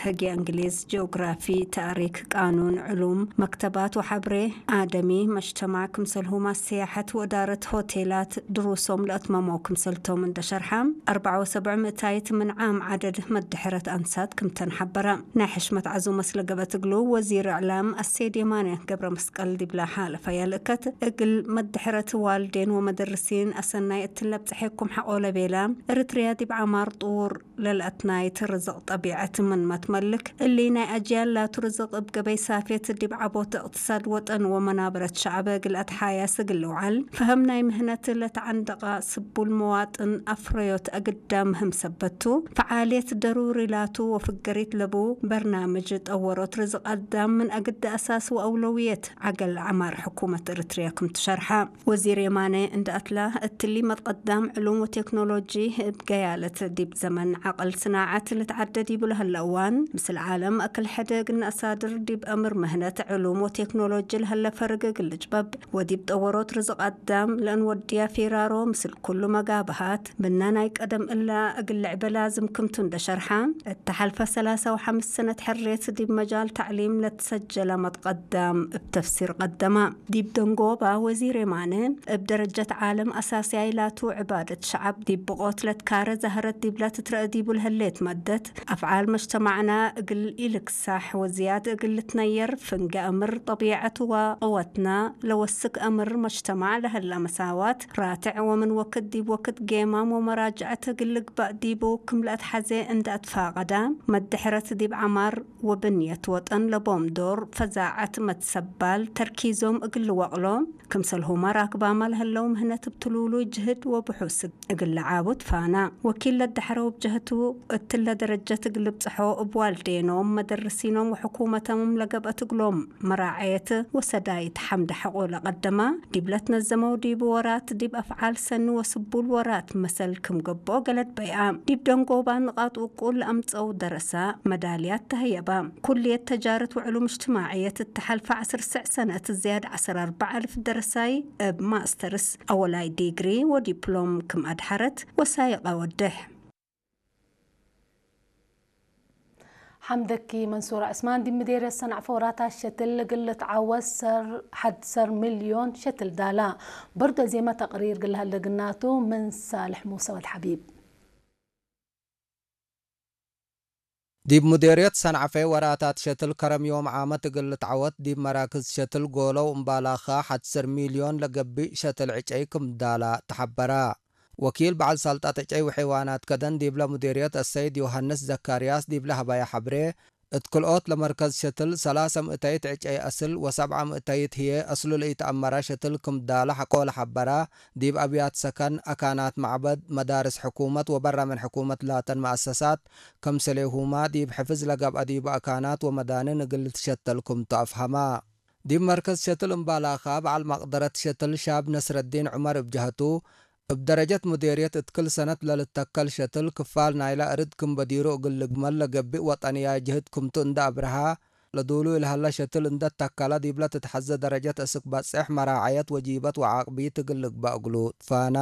ሕጊ እንግሊዝ፣ ጂኦግራፊ፣ ታሪክ፣ ቃኑን፣ ዕሉም፣ መክተባት ወሓብሬ ኣደሚ፣ መጅተማዕ ክምሰልሁማ ስያሐት ወእዳረት ሆቴላት ድሩሶም ለእትመሞ ክምሰልቶም እንደሸርሓ፣ ኣርብዓ ወሰብዕ ምእታይት ምን ዓም ዓደድ መድሕረት ኣንሳት ክምተን ሓበራ። ናይ ሕሽመት ዓዙመ ስለገበት እግሉ ወዚር እዕላም ኣሰይድ የማነ ገብረ መስቀል ዲብላ ሓለፋ ያልእከት እግል መድሕረት ዋልዴን ወመደርሲን ኣሰናይ እትለብጽሐኩም ሓቆለ ቤላ፣ እርትርያ ዲብ ዓማር ጥውር ለልአትናይት ርዝቕ ጠቢዐት ምን መትመልክ፣ እሊ ናይ ኣጅያል ላቱ ርዝቕ እብ ገበይ ሳፌት ዲብ ዓቦት እቅትሳድ ወጠን ወመናበረት ሸዕበ እግል ኣትሓያስ እግል ልውዓል፣ ፈሀም ናይ ምህነት ለተዓንደቓ ስቡል መዋጥን ኣፍረዮት ኣግዳ ምህም ሰበቱ፣ ፈዓልየት ደሩሪ ላቱ ወፍገሪት ለቡ በርናምጅ ጠወሮት ርዝቕ ኣዳም ምን ኣግዳ ኣሳስ ወአውለውየት ዓገል ዓማር ሕኩመት እርትርያ ክም ትሸርሓ። ወዚር የማነ እንደ ኣትላ፣ እትሊ መትቀዳም ዕሉም ወቴክኖሎጂ እብ ገያለት ዲብ ዘመን ዓቅል ስናዓት ልትዓደድ ይብሉ ህለ እዋን፣ ምስል ዓለም ኣክል ሕደግ እናእሳድር ዲብ እምር ምህነት ዕሉም ወቴክኖሎጂ ለህለ ፈርግ እግል ልጭበብ፣ ወዲብ ጠወሮት ርዝቅ ኣዳም ለእንወድያ ፊራሮ ምስል ኩሉ መጋብሃት፣ ብና ናይ ቀደም እላ እግል ልዕበ ላዝም ክምቱ እንደ ሸርሓ፣ እተሓልፈ ሰላሳ ወሓምስ ሰነት ሕሬት ዲብ መጃል ታዕሊም ለትሰጀላ መትቀዳም እብ ተፍሲር ቀደማ። ዲብ ደንጎባ ወዚር የማነ፣ እብ ደረጀት ዓለም ኣሳስያይ ላቱ ዕባደት ሸዓብ ዲብ ብቆት ለትካረ ዛህረት ዲብላ ትትረአ ዲቡ ለህሌት መደት፣ ኣፍዓል መጅተማዕና እግል ኢልክሳሕ ወዝያድ እግል ልትነየር፣ ፍንገ እምር ጠቢዐት ወቅወትና ለወስክ እምር መጅተማዕ ለህላ መሳዋት ራትዕ ወምን ወክድ ዲብ ወክድ ጌማም ወመራጅዐት እግል ልግባእ ዲቡ ክም ለአትሓዜ እንደ ኣትፋቀዳ፣ መድሕረት ዲብ ዓማር ወብንየት ወጠን ለቦም ዶር ፈዛዐት መትሰባል ተርኪዞም እግል ልወቅሎ፣ ክምሰልሁማ ራክባማ ለህለው ምህነት እብ ትሉሉይ ጅህድ ወብሑስ እግል ለዓቡ ትፋና። ወኪል ለደሐረው እብ ጀህቱ፣ እትለ ደረጀት እግል ልብጽሖ እብ ዋልዴኖም፣ መደርሲኖም ወሕኩመቶም ለገብአት እግሎም መራዐየት ወሰዳይት ሐምደ ሐቆ ለቀደማ፣ ዲብ ለትነዘመው ዲብ ወራት ዲብ አፍዓል ሰኒ ወስቡል ወራት መሰል ክም ገብኦ ገለድ በይአ። ዲብ ደንጎባ ንቃጥ ውቁል ለአምጸው ደረሳ መዳልያት ተህየባ። ኩልየት ተጃረት ወዕሉም እጅትማዕየት እተሐልፈ ዐስር ስዕ ሰነት ዝያድ ዐስር አርበዕ አልፍ ደረሳይ እብ ማስተርስ አወላይ ዲግሪ ወዲፕሎም ክም አድሐረት ወሳይቀ ወድሕ። ሓምደኪ መንሱር ዕስማን ዲብ ምዴርየት ሰንዓፈ ወራታት ሸትል እግል ልትዓወት ሰር ሐድ ሰር ሚልዮን ሸትል ዳላ። በርዶ ዜመ ተቅሪር ግልሃል ደግናቱ ምን ሳልሕ ሙሰ ወድ ሐቢብ። ዲብ ሙዴርየት ሰንዓፈ ወራታት ሸትል ከረም ዮም ዓመት እግል ልትዓወት ዲብ መራክዝ ሸትል ጎለው እምባላኻ ሐድ ሰር ሚልዮን ለገብእ ሸትል ዕጨይ ክም ዳላ ተሐበራ። ወኪል በዓል ሳልጣት ዕጨይ ወሐይዋናት ከደን ዲብለ ሙዴርየት አሰይድ ዮሃንስ ዘካርያስ ዲብለ ሀባየ ሐብሬ፣ እት ክልኦት ለመርከዝ ሸትል ሰላሰ ምእተይት ዕጨይ አስል ወሰብዐ ምእተይት ህዬ አስሉ ለኢተአመረ ሸትል ክም ዳለ ሐቆ ለሐበራ፣ ዲብ አብያት ሰከን፣ አካናት መዕበድ፣ መዳርስ ሕኩመት ወበረ ምን ሕኩመት ላተን መአሰሳት፣ ከምሰሌሁማ ዲብ ሕፍዝ ለገብአ ዲቡ አካናት ወመዳንን እግል ልትሸተል ክምቱ አፍሀማ። ዲብ መርከዝ ሸትል እምባላኻ በዓል መቅደረት ሸትል ሻብ ነስረዲን ዑመር እብ ጀሀቱ፣ እብ ደረጀት ሙዴርየት እት ክል ሰነት ለልተከል ሸትል ክፋል ናይለ እርድ ክም በዲሩ እግል ልግመል ለገብእ ወጠንያይ ጅህድ ክምቱ እንደ አብርሃ፣ ለዱሉይ ለሀለ ሸትል እንደ ተከለ ዲብለ ትትሐዘ ደረጀት እስክ በጽሕ መራዐየት ወጂበት ወዓቅቢት እግል ልግበእ እግሉ ትፋና።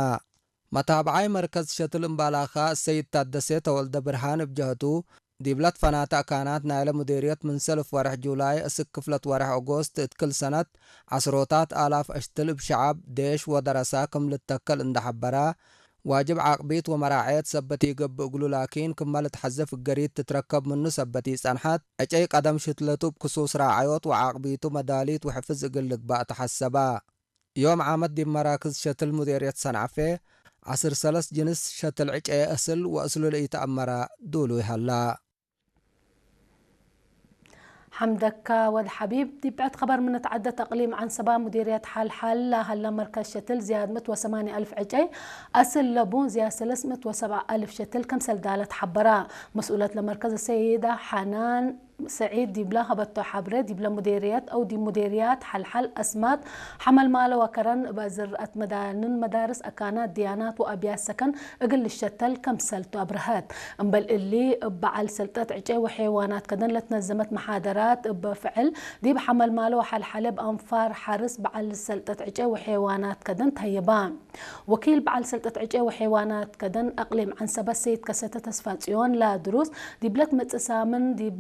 መታብዓይ መርከዝ ሸትል እምባላኻ እሰይድ ታደሴ ተወልደ ብርሃን እብ ጀሀቱ፣ ዲብለ ትፈናተ አካናት ናይለ ሙዴርየት ምን ሰልፍ ወርሕ ጁላይ እስክ ክፍለት ወርሕ ኦጎስት እት ክል ሰነት ዐስሮታት አላፍ አሽትል እብ ሸዐብ፣ ዴሽ ወደረሳ ክም ልተከል እንደ ሐበራ፣ ዋጅብ ዓቅቢት ወመራዐየት ሰበት ኢገብእ እግሉ ላኪን ክመ ልትሐዘ ፍገሪት ትትረከብ ምኑ ሰበት ኢጸንሐት፣ ዕጨይ ቀደም ሽትለቱ እብ ክሱስ ራዐዮት ወዓቅቢቱ መዳሊት ወሕፍዝ እግል ልግባእ ተሐሰባ። ዮም ዓመት ዲብ መራክዝ ሸትል ሙዴርየት ሰንዓፌ ዐስር ሰለስ ጅንስ ሸትል ዕጨየ እስል ወእስሉ ለኢተአመረ ዱሉይ ሀላ። ሐምደካ ወድ ሐቢብ። ዲብ ብዕድ ኸበር ምን እትዓደት አቅሊም ዐንሰባ ሙዲርየት ሐልሐል ለሀለ መርከዝ ሸትል ዝያድ ምእት ወሰማንየ አልፍ ዕጨይ አስል ለቡ ዝያድ ሰለስ ምእት ወሰብዓ አልፍ ሸትል ከምሰል ዳለ ተሐበራ። መስኡለት ለመርከዝ ሰይዳ ሐናን ሰዒድ ዲብለ ሀበቶ ሐብሬ፣ ዲብለ ሙዴርየት አው ዲብ ሙዴርያት ሐልሐል አስማጥ፣ ሐመልማለ ወከረን እብ አዝርአት መዳንን መዳርስ አካናት ድያናት ወአብያት ሰከን እግል ልሸተል ከምሰልቱ አብርሀት። እምበል እሊ እብ በዓል ሰልጠት ዕጨይ ወሐይዋናት ከደን ለትነዘመት መሓደራት እብ ፍዕል ዲብ ሐመልማለ ወሐልሐለ እብ አንፋር ሐርስ በዓል ሰልጠት ዕጨይ ወሐይዋናት ከደን ተህየባ። ወኪል በዓል ሰልጠት ዕጨይ ወሐይዋናት ከደን አቅሊም ዐንሰበት ሰይድ ከሰተ ተስፋጽዮን ላድሩስ ዲብለት መጽእ ሳምን ዲብ